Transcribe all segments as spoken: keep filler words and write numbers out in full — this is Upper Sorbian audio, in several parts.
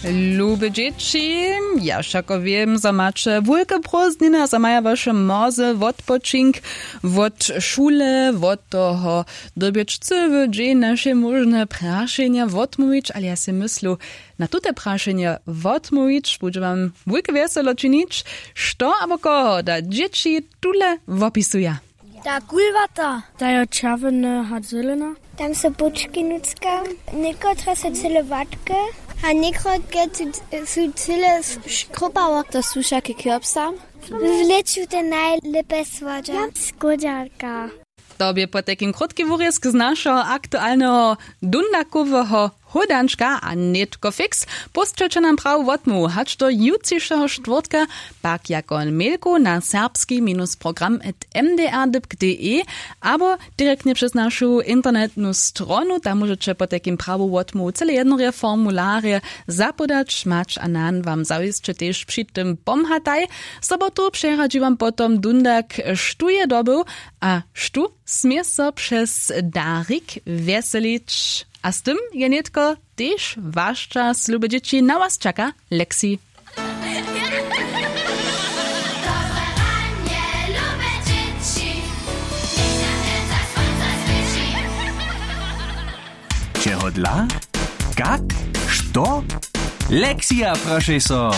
Lube dźěći, ja wšako wěm, zo maće wulke prózdniny a zo maja waše mórze wotpočink wot šule, wot toho dyrbjeć cyły dźeń na wšejmóžne prašenja wotmołwić, ale ja sej myslu, na tute prašenje wotmołwić budźe wam wulke wjeselo činić. Što abo koho da dźěći tule wopisuja? Ta kulwata, ta jo čerwjena a zelena. Tam su pučki nutřka, někotre su cyle łatke a někotre su, su cyle škrupało. To su wšake kjopsa. W lěću te najlěpe słodźa. Skódźarka. To bě potajkim krótki wurězk z našeho aktualneho dundakoweho hódančka a nětko fiks. Pósćelće nam prawu wotmołwu hač do jutřišeho štwórtka, pak jako mailku na serbski minus program at m d r dypk d e abo direktnje přez našu internetnu stronu. Tam móžeće potajkim prawu wotmołwu cyle jednore formularje zapodać mać a nan wam zawěsće tež při tym pomhataj. Sobotu přeradźi wam potom dundak, štó je dobył a štó smě so přez darik wjeselić. A z tym je nětko tež waš čas, lube dźěći, na was čaka Lexi. Čehodla? Kak? Što? Lexija, prošej so.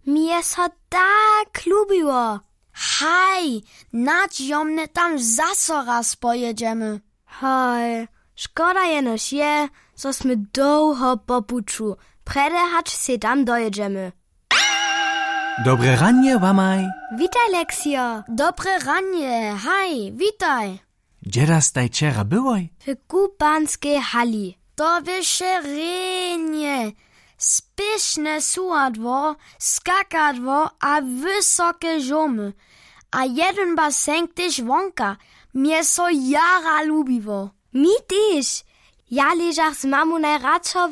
Mi je so tak lubiło. Haj, nadźijomnje tam zaso raz pojědźemy. Haj, škoda jenož je, zo smy dołho po puću, prjedy hač sej tam dojědźemy. Dobre ranje wamaj. Witaj, Lexio. Dobre ranje, haj, witaj. Dźe da staj wčera byłoj? W kupanskej hali. To běše rjenje, spěšne suhadło, skakadło a wysoke žomy. A jedyn basenk tež wonka. Mje so jara lubiło. Mi tež. Ja ležach z mamu najradšo